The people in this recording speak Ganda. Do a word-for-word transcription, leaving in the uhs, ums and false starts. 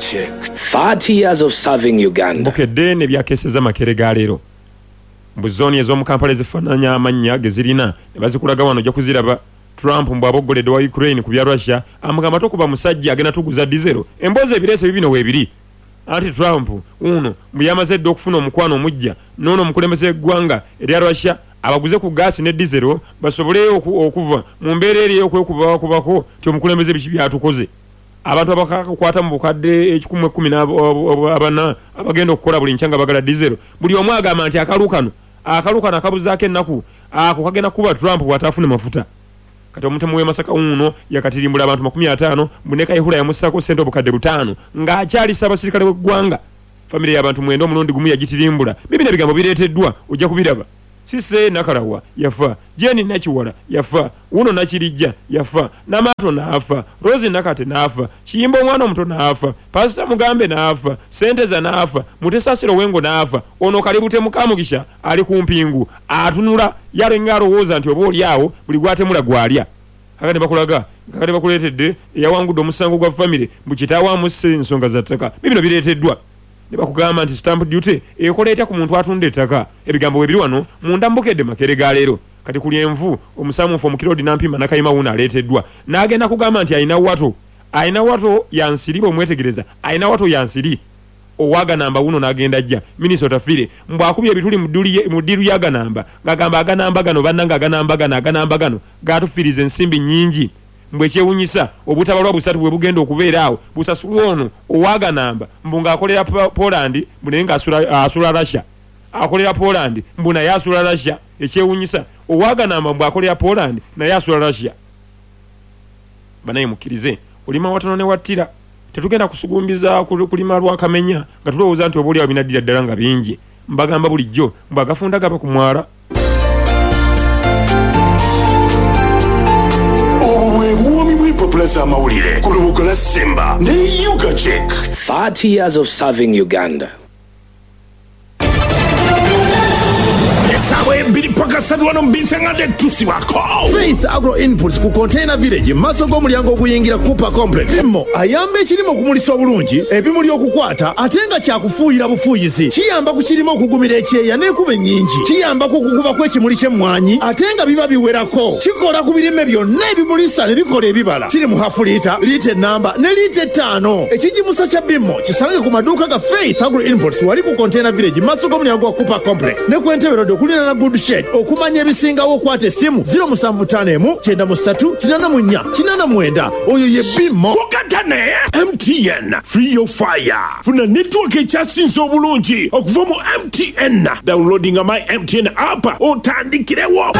Check. thirty years of serving Uganda. Bukedde ne byakeseza Makerere ga leero. Mbu zooni ez'omu Kampala ezifaananya amannya ge zirina ne bazikulaga wano ojja kuziraba. Trump mbu aboggoledde wa Ukraine ku bya Russia, amugamba tokuba musajja agenda tuguza dizero. Emboozi ebireese bibino weebiri. Anti Trump uno mbu yamaze dda okufuna omukwano omujja n'ono omukulembeze w'eggwanga erya Russia abaguze ku gaasi ne dizero basobole okuva mu mbeera eri ey'okwekubakubako nti omukulembeze biki byatukoze. Abantu abakakwata mu bukadde ekikumi ekkumi n'abana abagenda okukola buli nkya nga bagala dizero, buli omu agamba nti akalu kano akalu kano akabuzaako ennaku ako kagenda kuba Trump bw'ataafune mafuta. Kati omutemu w'e Masaka uno yakatirimbula abantu makumi ataano mbu Kayihura yamussaako ssente obukadde butaano ng'akyalisa abasirikale b'eggwanga. Famire y'abantu mwenda omulundi gumu yagitirimbula. Bibino ebigambo bireeteddwa ojja kubiraba. Sise Nakalawa yafa, Jeni Nakiwala yafa, Uno Nakirijja yafa, Namato n'afa, Rose Nakate n'afa, Kiyimba omwana omuto n'afa, Pasita Mugambe n'afa, Senteza n'afa, Mutesasiro Wengo n'afa. Ono Kalibute Mukamugisha ali ku mpingu atunula yalenga alowooza nti oba oli awo buli gwatemula gwalya. Kakati bakulaga kakati bakuleetedde eyawangudde omusango gwa famire mbu kitaawe amusse ensonga za ttaka. Bibino bireeteddwa ne bakugamba nti stamp duty ekola etya ku muntu atunda ettaka. Ebigambo webiri wano munda Mbukedde Makerere ga leero. Kati kuli envu omusamufu omukirodi Nampima Nakayima wuno aleeteddwa n'agenda kugamba nti alina wato alina wato yansiri bw'omwetegereza alina wato yansiri owaganamba wuno n'agenda ajja Minnesota Fire mbu akubye ebituli mu ddiru y'aganamba ng'agamba aganamba gano bannange aganamba gano aganamba gano gatufiiriza ensimbi nnyingi. Mbu ekyewuunyisa obutabalwa busatu bwe bugenda okubeera awo busasulwa ono owaganamba mbu ng'akolera Poland mbu naye ng'asula Russia, akolera Poland mbu naye asula Russia. Ekyewuunyisa owaganamba mbu akolera Poland naye asula Russia. Banaye mukkirize olima watono ne wattira. Tetugenda kusugumbiza kulima lwakamenya nga tulowooza nti oba oli awo binaddira ddala nga bingi. Mbagamba bulijjo mbu agafunda gaba ku mwala. Obwo bw'empapula z'amawulire ku lubuga lwa Simba ne Ugachek. thirty years of serving Uganda. Faith Agro Inputs ku Container Village maaso g'omulyango oguyingira Cooper Complex. Bimmo ayamba ekirime okumulisa obulungi, ebimuli okukwata ate nga kyakufuuyira bufuuyizi. Kiyamba ku kirime okugumira ekyeya n'enkuba ennyingi. Kiyamba ku kukuba kw'ekimuli ky'emmwanyi ate nga biba biwerako. Kikola ku birime byonna ebimulisa ne bikola ebibala. Kiri mu hafu liita, liita ennamba ne liita ettaano. Ekigimusa kya Bimmo kisange ku maduuka ga Faith Agro Inputs wali ku Container Village maaso g'omulyango gwa Cooper Complex ne ku Entebbe Road okuliraana Good Shed. Okumanya ebisingawo okwata essimu zero musanvu ttaano emu kyenda mu ssatu kinaana mu nnya kinaana mwenda. Oyo ye Bimmo. Kugatane M T N Free Your Fire. Funa network ekyasinze obulungi okuva mu M T N. Downloading my M T N app otandikirewo.